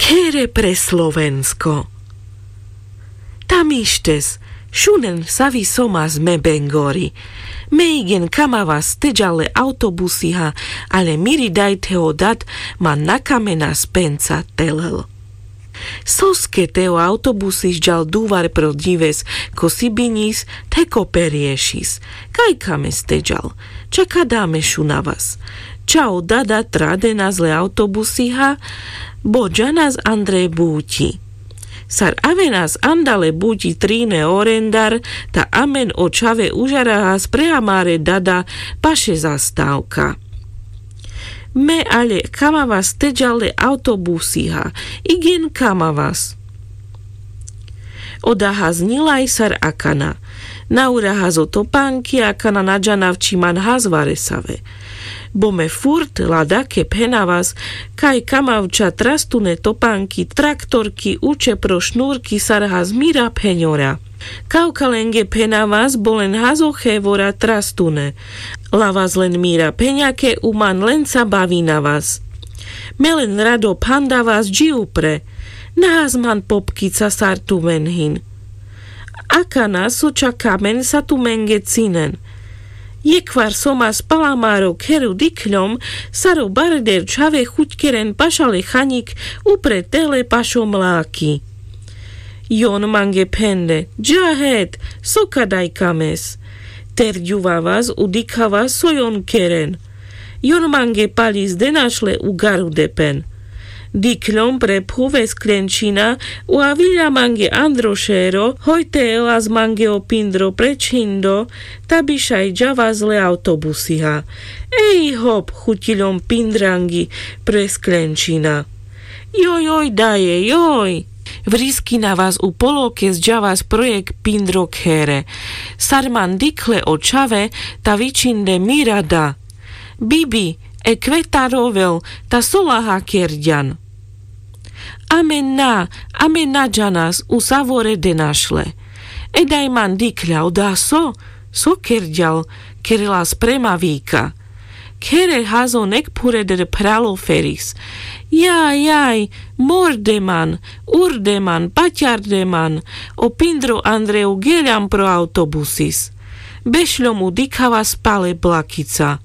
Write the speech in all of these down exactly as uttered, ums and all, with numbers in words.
Here pre slovensko. Tam ištes šunen savi somas me bengori. Me igen kamavas te džal le autobusiha, ale miri daj te o dad man na kamenas penca telel. Soske te o autobusis džal duvar pro dives ko sibinis, te ko periešis? Kaj kames te džal? Ča kada me šunavas? Ča o dada tradenas le autobusiha? Bo džanas andre buti. Sar avenas andale buti trine orendar, ta amen o čhave užarahas pre amare dada paše zastavka. Me ale kamavas te džal le autobusiha. Igen kamavas. Oda haznilaj sar akana. Na urahas o topanki, akana na džanav či man hazvaresave. Bo me furt ladake phenavas kaj kamavča trastune topanki, traktorki uče pro šnurki sar hazmira phenjora. Kavkalenge phenavas bo len hazo hevora trastune. Lavas len mira phenjake u man lenca bavinavas. Me len rado phandavas dži upre. Na hazman popkica sar tumen hin. Akana so ča kamen sa tumenge cinen. Jekhvar somas pal amaro kheru dikhljom sar o barder čhave huťkeren pašale hanjik upre tele pašo mlaki. Jon mange phende: Dža het, so kadaj kames? Terďuvavas u dikhavas so jon keren. Jon mange palis de našle u garudepen. Dikhljom pre phuve sklenčina, u avilja mange andro šero, hoj te elas mange o pindro pre čhindo, ta bi šaj džavas le autobusiha. Ej hop, huťiljom pindrangi pre sklenčina. Joj, joj, daje, joj! Vriskinavas u polokes džavas pro jekh pindro khere. Sar man dikhle o čhave, ta vičinde: Mira da! Bibi, ekve ta rovel, ta so laha kerďan? Amen na, amen na džanas, u savore de našle. E daj man dikhľa, oda so, so kerďal, kerelas prema vika. Khere hazo nek phureder phralo feris. Jaj, jaj, morde man, urde man, paťarde man, o pindro andre u geľam pro autobusis. Bešľom u dikhavas pale blakica.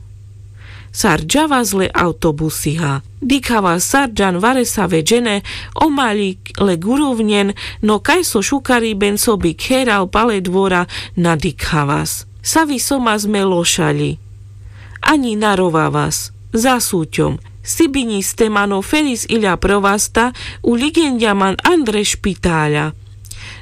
Sar džavas le autobusiha. Dikhavas sar džan varesave džene, o maľik le guruvňen, no kaj so šukariben so bi kheral pale dvora na dikhavas. Savi somas me lošaľi. Aňi na rovavas. Zasuťom. Sibiňiste man o feris iľa pro vasta, u ligenďa man andre špitaľa.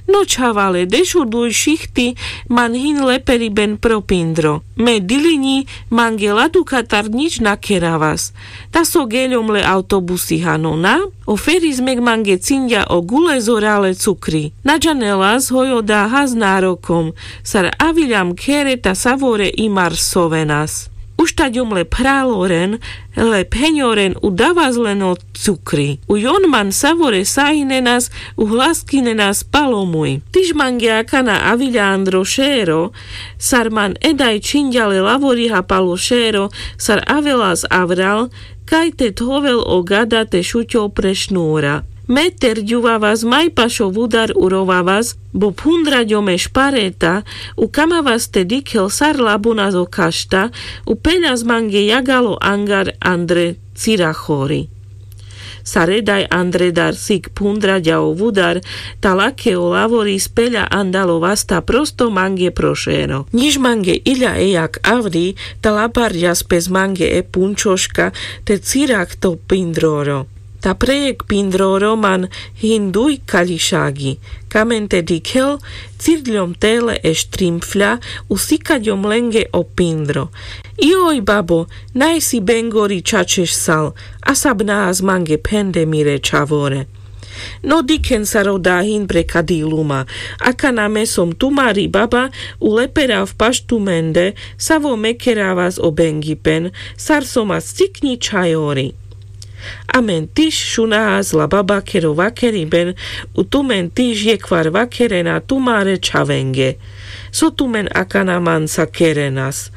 No čhavale, deš o duj šichti, man hin leperiben pro pindro. Me diliňi, mange ladukatar ňič na keravas. Ta so geľom le autobusiha, no na? O feris mek mange cinďa o gule zorale cukri. Na džanelas hoj oda has narokom. Sar aviľam khere, ta savore imar sovenas. Uštaďom le phraloren, le pheňoren u davas len o cukri. U jon man savore sahinenas, u hlaskinenas pal o muj. Tiš mange akana aviľa andro šero, sar man e daj čhinďa le lavoriha pal o šero, sar avelas avral, kaj te thovel o gada te šuťol pre šnura. Me terďuvavas maj pašo vudar u rovavas, bo phundraďom e špareta, u kamavas te dikhel sar labunas o kašta, u peľas mange jagal o angar andre cirachori. Sar e daj andredar sik phundraďa o vudar, ta lake o lavoris peľa andal o vasta prosto mange pro šero. Ňiž mange iľa e jak avri, ta labarďas pes mange e punčoška, te cirach to pindroro. Ta pre jekh pindroro man hin duj kaľišagi. Kamen te dikhel, cirďom tele e štrimfľa, u sikaďom lenge o pindro. Joj, babo, naj si bengori čačeš sal, a sabnahas mange phende mire čhavore. No dikhen sar oda hin pre kadi luma, akana me som tumari baba, u leperav paš tumende, savo me keravas o bengipen, sar somas cikňi čhajori. Amen tiš šunahas la babakero vakeriben, u tumen tiš jekhvar vakerena tumare čhavenge. So tumen akana manca kerenas?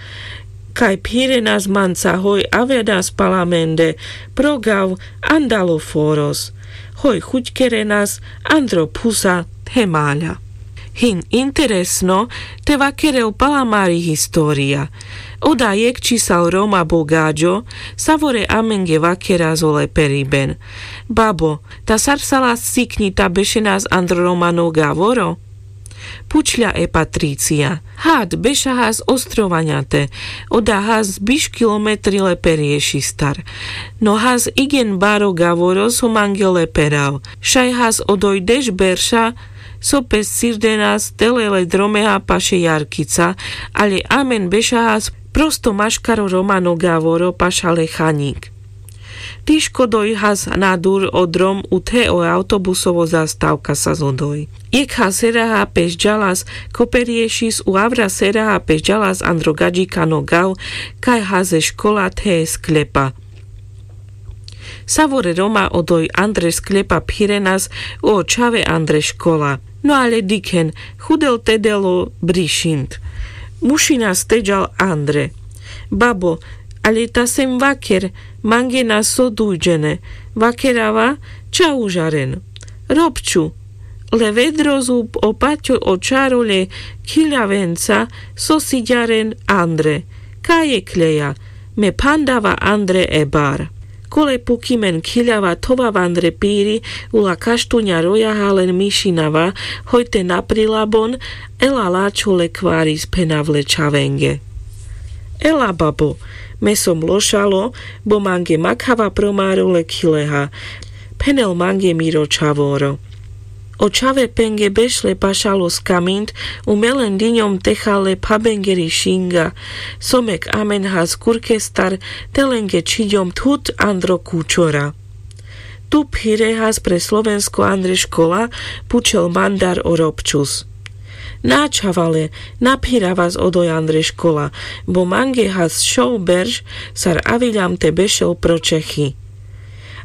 Kaj phirenas manca hoj avenas pal amende pro gav andal o foros. Hoj chuťkerenas andro phusa the maľa. Hin interesno te vakerel pal amari história. Oda jekh čisal roma bogaďo savore amenge vakeras o leperiben. Babo, ta sar psalas cikňi ta bešenas andro romano gavoro? Phučľa e patricia. Had bešahas ostrovanďate. Oda has biš kilometri leperiešistar. No has igien baro gavoro so mange leperav. Šaj has odoj deš berša so pes cirdenas tele le dromeha paše jarkica. Ale amen bešahas prosto maškaro romano gavoro paša le chaňik. Tiško doj has na dur o drom u the o autobusovo zastavka sas odoj. Jekha seraha peš ďalas ko periešis u avra seraha peš ďalas andro gaďikano gav. Kaj has e škola the e skľepa. Savore roma odoj andre skľepa phirenas u o čhave andre škola. No ale dikhen, chudel tedel o brišint. Mušinas te ďal andre. Babo, ale ta sem vaker, mange na so dujďene. Vakerava ča užaren. Robču. Le vedro zub o paťo o čaro le khiľavenca so siďaren andre. Kaj e kľeja? Me phandava andre e bar. Kole pukimen khiľava thovav andre piri. Ula kaštuňa rojaha len mišinava. Hoj te naprilabon. Ela lačho le kvaris phenav le čhavenge. Ela babo. Me som lošalo, bo mange makhava pro maro le khileha. Phenel mange miro čhavoro. O čhave penge bešle pašalo skamint. U me len diňom techal le phabengeri šinga. Somek amen has kurkestar. Te lenge čhiďom thut andro kučora. Tu phirehas pre slovensko andre škola? Pučel mandar o robčus. Na čhavale, na phiravas odoj andre škola. Bo mange has šov berš sar aviľam te bešel pro čechi.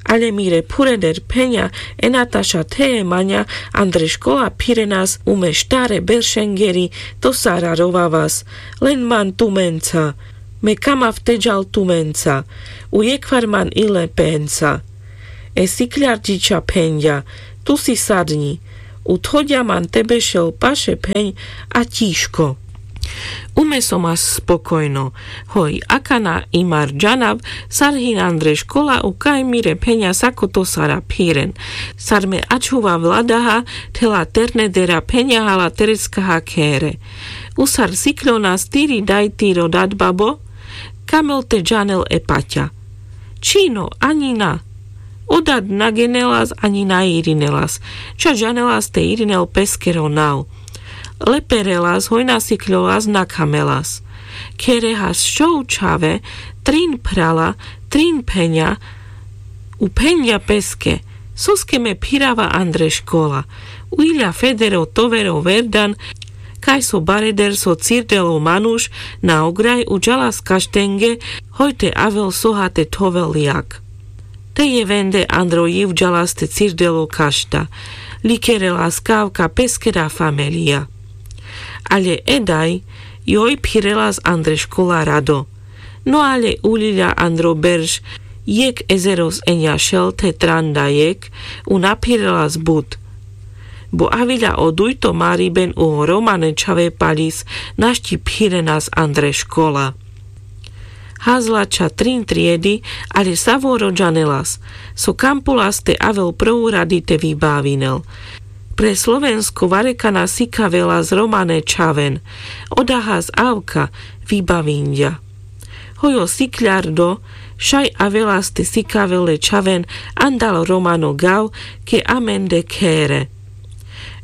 Ale mire phureder pheňa e nataša the e maňa andre škola phirenas u me štare beršengeri. To sara rovavas. Len man tumenca. Me kamav te ďal tumenca. U jekhvar man ile penca. E sikľarďiča phenďa. Tu si sadňi. U thoďa man te bešel paše pheň a ťižko. U me som as spokojno. Hoj akana i mar ďanav sar hin andre škola u kaj mire pheňa sako to sara phiren. Sar me ačhuva vladaha thela ternedera pheňa hala tereckaha khere. U sar sikľonas tiri daj tiro dad babo? Kamel te ďanel e paťa? Čhino aňi na. O dad na genelas aňi na irinelas. Ča ďanelas te irinel peskero nav. Leperelas hoj na sikľolas na kamelas. Kherehas šov čhave, trin phrala, trin pheňa. U phenďa peske. Soske me phirava andre škola? U iľa federo tovero verdan. Kaj so bareder so cirdel o manuš na ograj u ďalas kaštenge. Hoj te avel soha te thovel jak. Te jevende andro jiv ďalas te cirdel o kašta. Likerelas kavka peskera famelija. Ale e daj joj phirelas andre škola rado. No ale uľiľa andro berš. Jekh ezeros eňa šel the tranda jekh. U na phirelas but. Bo aviľa o dujto mariben u o romane čhave paľis našti phirenas andre škola. Hazla ča trin triedi. Ale savoro ďanelas. So kampulas te avel pro uradi te vybavinel. Pre slovensko varekana sikavelas romane čhaven. Oda has avka vybavinďa. Hoj o sikľardo. Šaj avelas te sikavel le čhaven andal romano gav ke amende khere.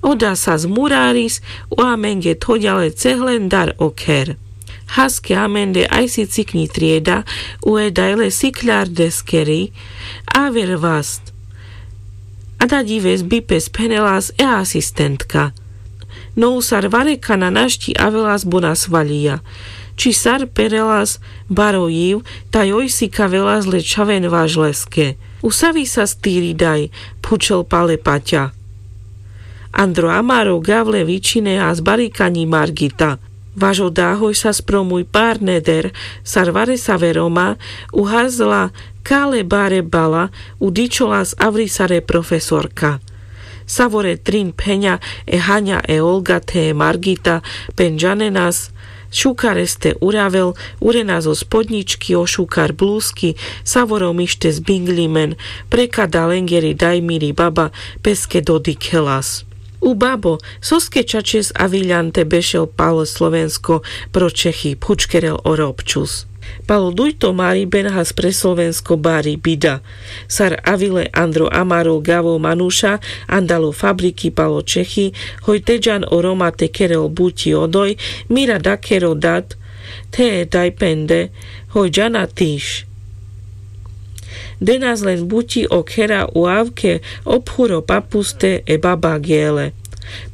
Oda sas muraris u amenge thoďa le cehlen dar o kher. Haske amende ajsi cikňi trieda. U e daj le sikľardeskeri. Aver vast. A da ďives bi pes phenelas e asistentka. No u sar varekana našti avelas bo na svaľija. Či sar perelas baro jiv taj oj sikavelas le čhaven važleske. U savi sas tiri daj? Phučel pal e paťa. Andro amaro gav le vičinehas barikaňi margita. Vaš oda hoj sas pro muj pár neder sar varesave roma, u hazla kale bare bala, u dičholas avri sare profesorka. Savore trin phenja, e hanja, e olga the e margita, pen džanenas šukar este uravel. Urenas o spodnjički, o šukar bluski, savore o mištes binglimen. Prekada lengeri daj miri baba peske dodikhelas: U babo, soske čačes aviljan te bešel pal slovensko pro čehi? Phučkerel o robčus. Pal o dujto mariben has pre slovensko bari bida. Sar avile andro amaro gavo manuša andal o fabriki pal o čehi, hoj te džan o roma te kerel buti odoj, mira dakhero dat the e daj pende, hoj džana tiš. Denas len buti o khera u avke, o phuro papuste e baba gele.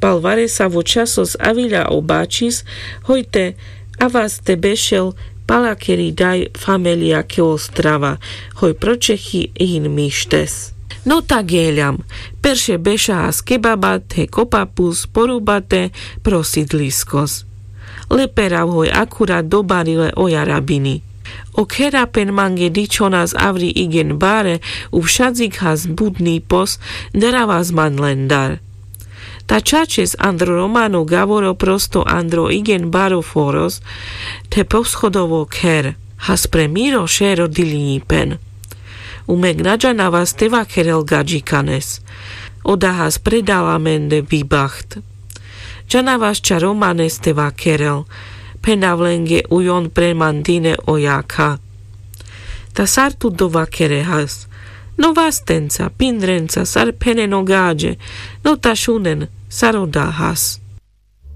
Pal varesavo časos avilja o bačis, hoj te avas te bešel pal akeri daj famelija ke ostrava, hoj pro čehi hin mištes. No ta geljam. Perše beša has ke baba the ko papus porubate pro sidliskos. Le perav hoj akurat dobarile o jarabini. O khera pen mange dičhonas avri igen bare, u šadzik has budni pos, daravas man lendar. Ta čačes andro romano gavoro prosto andro igen baro foros, the poschodovo kher. Has pre miro šero dilinjipen. Umek na džanavas te vakerel gadžikanes. Oda has predala mende bibaht. Džanavas ča romanes te vakerel. Phenav lenge ujon pre man dine o jakha. Ta sar tut dovakere has? No vastenca, pindrenca, sar phenen o gadže. No ta šunen sar oda has.